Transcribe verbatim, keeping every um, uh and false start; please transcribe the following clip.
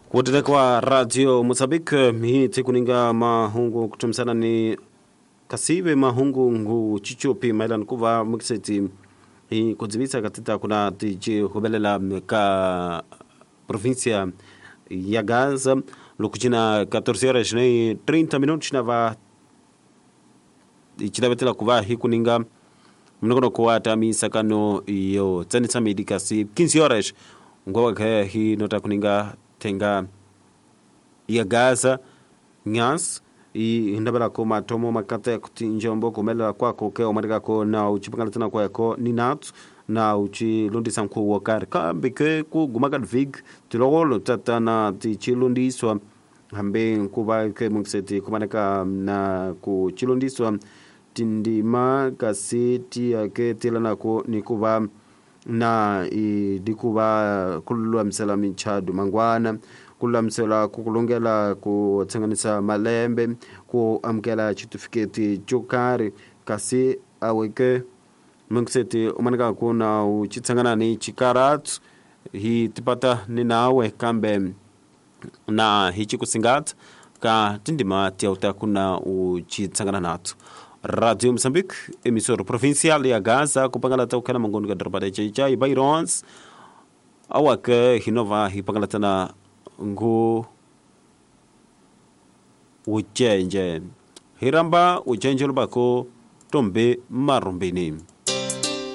Kuendelea kwa Radio Mozambique hii tikuninga mahungu kutumisana ni kasive mahungu ngu chichopi mailani kuva mukiseti hi kudzivisa katita kuna tichi hubelela ka província ya Gaza lokuchina catorze horas nem trinta minutos na va ichilavetela kuva hikuninga mnokono kuwata misakano yo tsanisa medikasi quinze horas ngowa khe hi nota kuninga tenga ya Gaza nyas i hindabela ko matomo makata kuti njombo kumelela kwako ke omarika ko na uchipangala tena kwako ni natu na uchilundisa nkhu wokari kambe ke kuguma ka vig tilokolo tatana tichilundiswa hambe nkuva ke mungiseti kumaneka na kuchilundiswa tindima kasi tiyake tilanako nikuva na idikuva kululamisela michadu mangwana kululamisela kukulungela kutsenganisa malembe ku amukela chitifiketi chokari kasi aweke mungiseti umaneka kuna uchitsangana ni chikaratu hi tipata ni nawe kambe na hichikusingatha ka tindima tiyauta kuna uchitsangana nathu. Radio Mozambique, emissora provincial ya Gaza, kupangala ta ukana mangoni ka doroba de Chaichai Bairons awake hinova hipangala tana ngu uchenje hiramba uchenje lubako tombe marumbini.